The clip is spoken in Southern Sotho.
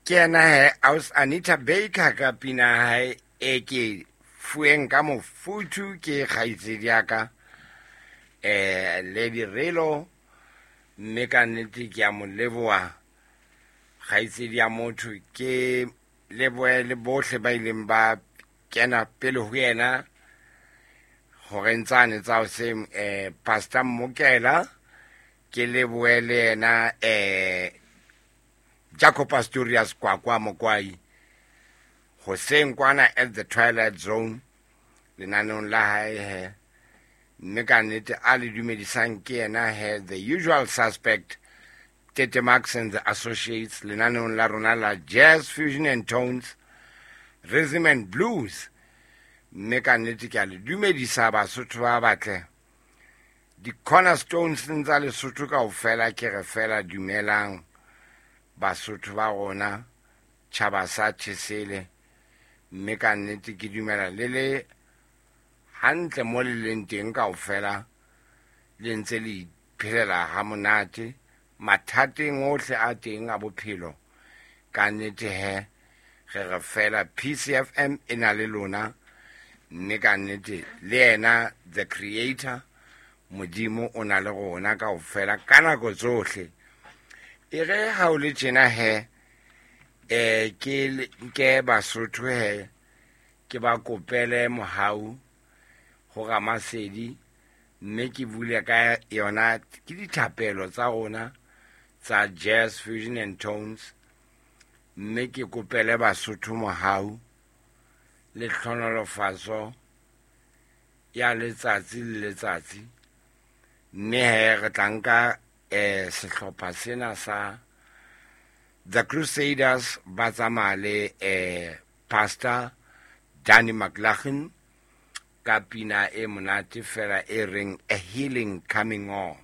Ke yena he Aus Anita Baker ka pina ya hae e ke fueng ka mofuthu ke kgaitsedi ya ka Lady Relo, mme ka nnete ke a mo leboha kgaitsedi ya motho. Ke lebohe le bohle ba ileng ba kena pele ho yena horeng tsane tsa hoseng, Pastor Mmokela, ke lebohe le yena Jaco Pastorius Kwakwa Mokwai hoseng kwana at the Twilight Zone lenaneong la hae he, mme ka nnete a le dumedisang ke yena he, the usual suspect Tete Max and the Associates lenaneong la rona la Jazz Fusion and Tones, Rhythm and Blues. Mme ka nnete ke a le dumedisa Basotho ba batle, di-cornerstones tsa Lesotho kaofela, ke re fela dumelang Basotho ba rona, tjhaba sa Thesele. Mme ka nnete ke dumela le le hantle mo le leng teng kaofela, le ntse le iphelela ha monate mathateng ohle a teng a bophelo. Ka nnete he re re fela PCFM e na le lona, mme ka nnete le yena the creator Modimo o na le rona kaofela ka nako tsohle. E re ha o le tjena he, ke nke Basotho he, ke ba kopele mohau ho Ramasedi, mme ke bule ka yona ke dithapelo tsa rona tsa Jazz Fusion and Tones, mme ke kopele Basotho mohau le tlhonolofatso ya letsatsi le letsatsi. Mme he re tla nka sehlopha sena sa The Crusaders ba tsamaya le Pastor Danny McLaughlin ka pina e monate fela e reng A Healing Coming On.